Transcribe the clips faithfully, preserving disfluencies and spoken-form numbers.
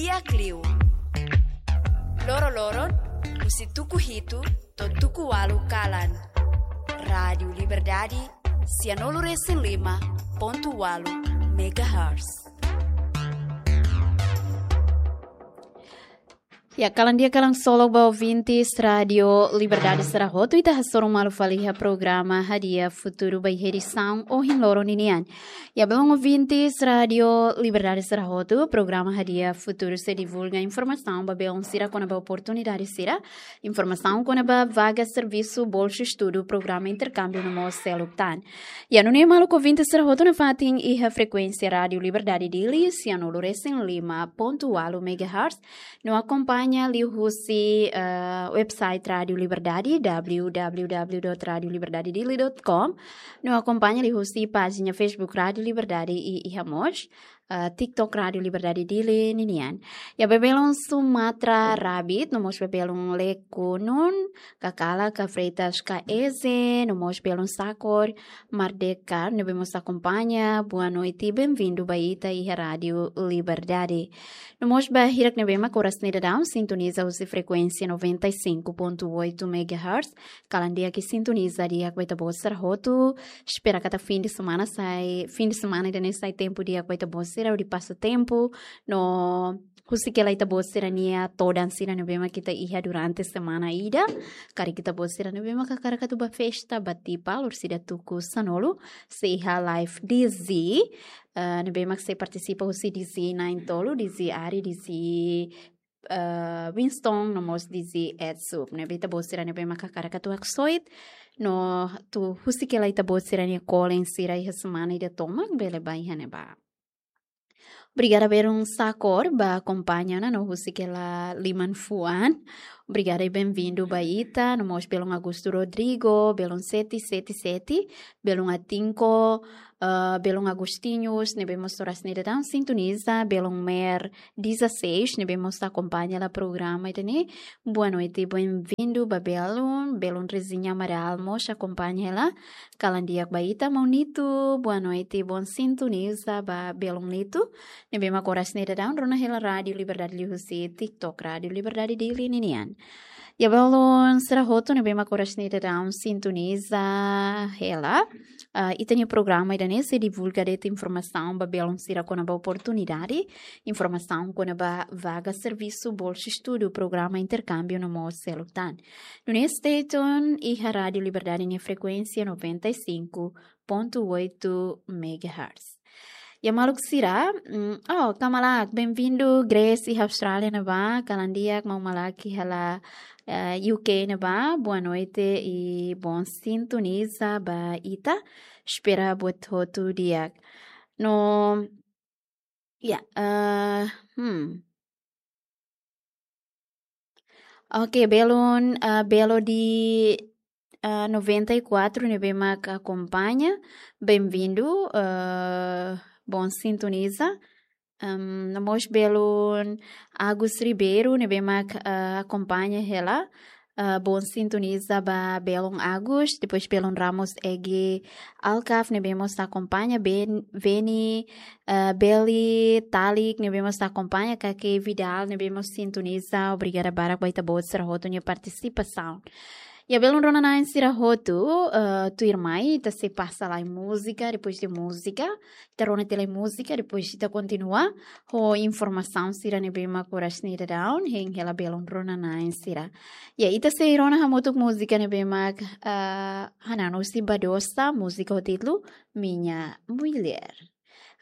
Di'ak liu. Loro-loron, husi tuku hitu to'o tuku ualu kalan. Rádiu Liberdade, sianulu-resin-lima pontu ualu megahertz. Ya, kalan di'ak, kalan solok ba ouvintes Rádiu Liberdade sira hotu, ita hasoru malu fali iha programa Hadi'a Futuru ba iha edisaun ohin loron ninian. Ya, belun ouvintes Rádiu Liberdade sira hotu, programa Hadi'a Futuru sei divulga informasaun ba belun sira kona-ba oportunidade sira, informasaun kona-ba vaga servisu, bolsa estudu, programa interkámbiu no mós seluk tan. Ya, nune'e maluk ouvintes sira hotu nafatin iha frekuénsia Rádiu Liberdade Dili, sianulu-resin-lima pontu ualu megahertz, no akompaña liuhusi, eh, website Rádiu Liberdade, w w w dot radio liberdade dili dot com, no akompaña liuhusi pájina Facebook Rádiu Liberdade i iha mós, eh, TikTok Rádiu Liberdade Dili ninian. Ya, ba belun Sumatra Rabit, no mós ba belun Lekunun, Kakala, ka Freitas, ka Eze, no mós belun Sakor, Mardeka, ne'ebé mós akompaña, boa noite, bem-vindo ba ita iha Rádiu Liberdade. No mós ba hirak ne'ebé mak oras ne'e daudaun sintoniza husi frekuénsia noventa e cinco ponto oito megahertz, kalan di'ak ke sintoniza di'ak ba ita-boot sira hotu, espera katak fim de semana sai, fim de semana ida-ne'e sai tempu di'ak ba ita-boot sira hodi pasa tempu, no husik hela ita-boot sira-nia todan sira ne'ebé mak ita iha durante semana ida. Karik ita-boot sira ne'ebé mak hakarak atu ba festa, ba tipa, loron ida tuku sanulu, sei iha live D J, eh, ne'ebé mak sei partisipa husi D J na'in-tolu, D J Ari, D J, eh, Winston, no mós D J Edsup. Ne'ebé ita-boot sira ne'ebé mak hakarak atu haksoit, no atu husik hela ita-boot sira-nia kolen sira iha semana ida tomak, bele ba iha ne'ebá. Obrigada belun Sakor ba akompaña ona no husik hela liman fuan. Obrigada i bem-vindo ba ita, no mós belun Augusto Rodrigo, belun sete sete sete, belun Atinko, eh, belun Agostinhos, ne'ebé mós oras ne'e daudaun sintoniza, belun Mer dezasseis, ne'ebé mós akompaña hela programa ida-ne'e. Boa noite, bem-vindo ba belun, belun Rezinha Amaral mós akompaña hela. Kalan di'ak ba ita, maun Nitu, boa noite, bom sintoniza ba belun Nitu. Ne'ebé mak oras ne'e daudaun rona hela Rádiu Liberdade liuhusi TikTok Rádiu Liberdade Dili ninian. Ya, belun sira hotu ne'ebé mak oras ne'e daudaun sintoniza hela, ah, ita-nia programa ida-ne'e sei divulga de'it informasaun ba belun sira kona-ba oportunidade, informasaun kona-ba vaga servisu, bolsa estudu, programa interkámbiu no mós seluk tan. Nune'e stay tune iha Rádiu Liberdade nia frekuénsia noventa e cinco ponto oito megahertz. Ya maluk sira, mm, oh, kamalak, bem-vindo, Grace iha Austrália ne'ebá, kalan di'ak, maun Malak iha la, eh, U K ne'ebá, boa noite i bom sintoniza ba ita, espera buat hotu di'ak. No, ya, eh, hmm. Oke, belun, eh, belo di, eh, noventa e quatro ne'ebé mak akompaña, bem-vindo, eh, bom sintoniza. Em, no mós belun Agus Ribeiro ne'ebé mak, eh, akompaña hela, eh, bom sintoniza ba belun Agus, depois belun Ramos Egi Alkaf ne'ebé mós akompaña, Ben, Veni, eh, Beli, Talik ne'ebé mós akompaña, Kake Vidal ne'ebé mós sintoniza, obrigada barak ba ita-boot sira hotu nia partisipasaun. Ya belun rona-na'in sira hotu, eh, tuirmai ita sei pasa lai múzika, depois de múzika, ita rona tiha lai múzika, depois ita kontinua ho informasaun sira ne'ebé mak oras ne'e daudaun hein hela belun rona-na'in sira. Ya, ita sei rona hamutuk múzika ne'ebé mak, eh, hanan husi Badosa, múzika ho títulu Minha Mulher.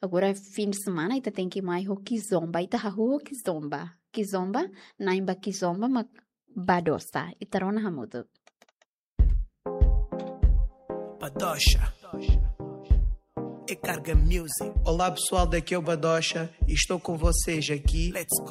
Agora, fim de semana, ita tenke mai ho kizomba, ita hahú ho kizomba. Kizomba, na'in ba kizomba mak Badosa. Ita rona hamutuk. Badosa. É Carga Music. Olá, pessoal, daqui é o Badosa e estou com vocês aqui. Let's go.